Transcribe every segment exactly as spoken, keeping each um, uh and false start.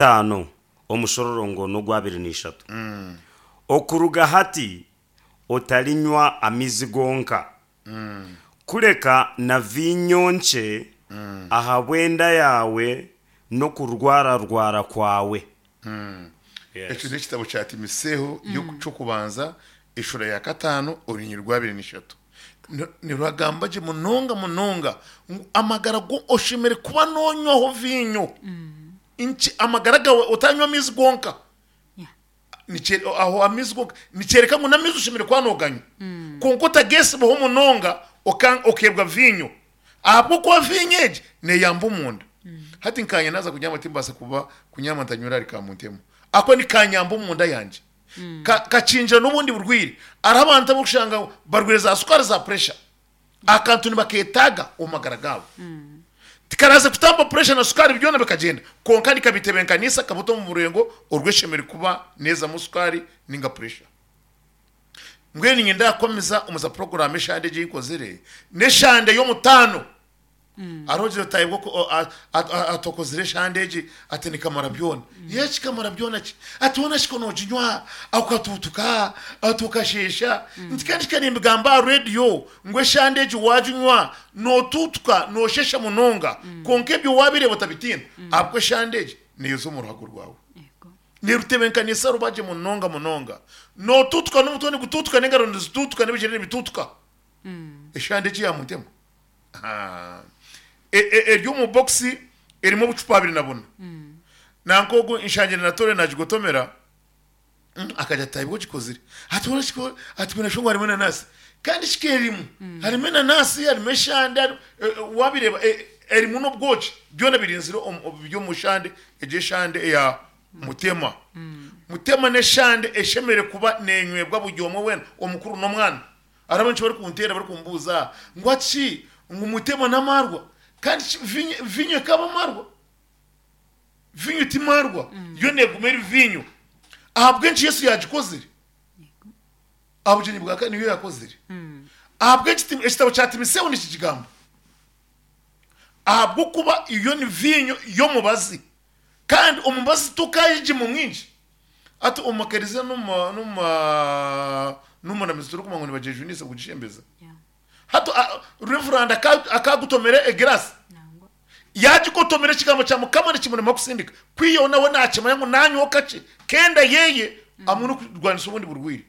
Itaano omushororongo n'ogwabiri na ishatu. Okuruga hati otarinywa amaizi gonka, kureka na viinyo nkye ahabw'enda yaawe n'okurwararwara kwawe. Ekyo n'ekitabo kya Timoseeho ky'okubanza eshuura ya kataano orunyiriri rw'abiri na ishatu. Nirugamba gye munonga munonga ngu amagara go oshemereire kuba noonywaho viinyo nkye, amagara gaawe otanywa amaizi gonka. Aho amaizi gonka nikyoreka ngu n'amaizi oshemereire kuba nooganywa kwonka otageesibaho munonga okeebwa viinyo ahabw'okuba viinyo egi neeyamba omunda. Hati nkanye naaza kunyama timbaasa kuba kunyama ntanywire ahari Kamuntemu ahakuba nikanyamba omunda yangye. Kakingira n'obundi burwaire. Hariho abantu abu orikushanga ngu barwaire za sukaari za puresha, akantu nibaketaaga omu magara gaabo. Tikaraze kutamba puresha na sukaari byona bikagyenda, kwonka nikabitebeekanisa kabuta omu burengo orw'eshemereire kuba neezamu sukaari ninga puresha. Mbwenu niinyenda kukwamiza omu za puroguraamu eshande egi ei nkozire, n'eshande y'omutaano. Hariho ogira oti ahabw'oku ati okozire eshande egi ati nikamara byona. Yee kikamara byona ki? Ati hoona shi ku nooginywa okatuutuka, ati okasheesha. Nti kandi ka nimbigamba aha reediyo ngu eshande egi waaginywa nootuutuka, nooshesha munonga kwonka ebyo waabireeba otabitiina ahabw'okuba eshande egi neeyoza omu ruhago rwawe. Neerutebeekanisa ruba gye munonga munonga. Nootuutuka n'omutwe nigutuutuka n'engaro nizituutuka n'ebigyere nibituutuka. Eshande egi yaamuntema. Eri omu bokisi erimu obucupa abiri na buna. Nanka ogu nshangire na Tore nagigotomera akagira ati taibwe ogikozire. Ati hoona kiko ati kwine ngu harimu enanasi. Kandi kika erimu. Harimu enanasi, harimu eshande, wabireeba erimu n'obwoki. Byona birinzire biri omu shande egyo eshande eya Mutema. Mutema n'eshande eshemereire kuba nenywebwa buri omwe weena omukuru n'omwana. Hariho abenki barikunteera barikumbuuza ngu hati shi ngu mutema n'amaarwa? Kandi shi viinyo viinyo ekaba amaarwa? Viinyo ti maarwa, yo neeguma eri viinyo. Ahabw'enki Yesu yaagikozire? Aha bugyenyi bwa ka niyo yaakozire. Ahabw'enki Tim- ekitabo kya Timoseeho nikigamba? Ahabw'okuba yo ni viinyo y'omubazi, kandi omubazi tokaayegima mwingi. Hati omu makereziya n'omu n'omu turikumanya ngu nibagyejunisa kugishembeza. Hati Reverand akagutomera egirasi, yaagikotomera ekigambo kya Mukama nikimurema kusindika, kwihaho nawe naakimanya ngu naanywaho kakye k'enda yeye hamwe n'okurwanisa obundi burwaire.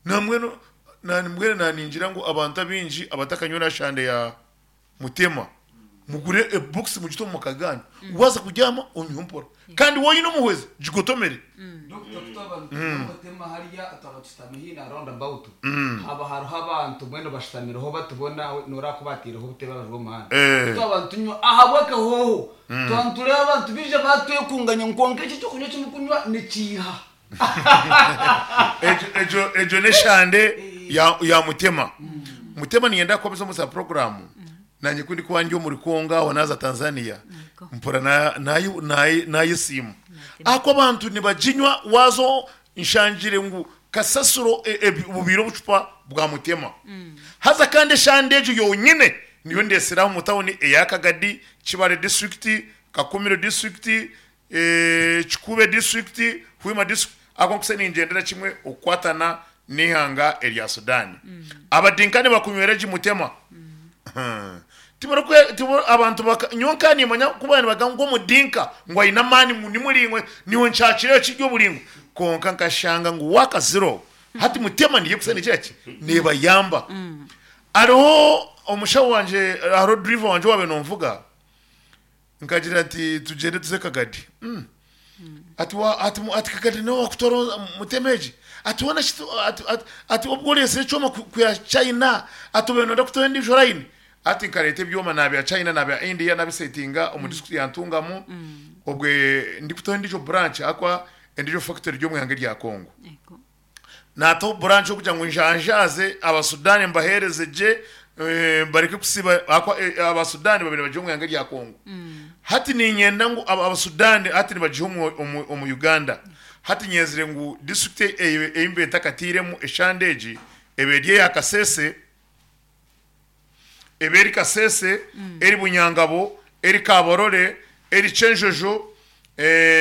Nambwenu mbwenu naaningira ngu abantu abaingi abatakanywire aha shande ya Mutema, mugure ebokisi mugite omu maka gaanyu, waaza kubyama onywe mpora. Kandi waaba oine omuhwezi, gigotomere. Dokita twaba nitunywa Mutema hariya twaba tushutami haihi na round about haba hariho abantu mbwenu bashutamireho batubona noreeba ku bateireho obutebe aha rubaju rw'omuhanda twaba nitunywa ahabw'akahooho twaba nitureeba abantu baija batwekunganya ngu kwonka eki ekyokunywa eki murikunywa nikiiha. Egyo egyo egyo n'eshande ya ya Mutema. Mutema niinyenda kukomeza omu za puroguraamu naanye ku ndikuba ndi omuri Congo aho naaza Tanzania mpurira na- naye- naye- naayesiima. Ahakuba abantu nibaginywa waaza nshangire ngu kasasiro e- e- bubaire obucupa bwa Mutema. Haza kandi eshande egyo yonyine niyo ndeetsire aha omu tawuni eya Kagadi, Kibaale disiturikiti, Kakumiro disiturikiti, Kikuube disiturikiti, Hoima disiturikiti, ahabw'okuba nkutsya ningyendera kimwe okukwatana n'eihanga erya Sudan. Abadinkani bakunywera gye mutema. Tibarikwe tibo abantu baka nyowe nka nimanya ku baba nibagamba ngu omudinka ngu aine amaani ngu ni muraingwa niiwe nkyakirayo kiri oburaingwa kwonka nkashanga ngu waakazire hati mutema niyo erikusa negira ki neebayamba. Hariho omushaho wangye hariho duriva wangye owaabaire noonvuga Nkagira nti tugyende tuze Kagadi. Mm. Ati wa ati mu- ati Kagadi niwe wakutwara mutema egi. Ati hoona shi tu- ati ati ati obwo oreetsire ekyoma ku- kwiha China ati obaire nooyenda kutuha endiijo line. Ati nkareeta ebyoma naabya China naabya India nabisetinga omu district ya Ntungamo obwe ndikutaho endiijo branch ahakuba endiijo factory eri omu ihanga erya Congo. Yego. Naataho branch okugira ngu njanjaaze Abasudani mbaheereze gye bareke kusiiba ahakuba Abasudani babaire nibagya omu ihanga erya Congo. Hati niinyenda ngu Abasudani hati nibagiha omu Uganda. Hati nyenzire ngu disiturikiti ei mbaire ntakatairemu eshande egi ebe eri eya Kasese, ebe eri Kasese, eri Bunyangabo, eri Kabarole, eri Kyenjojo, Eh,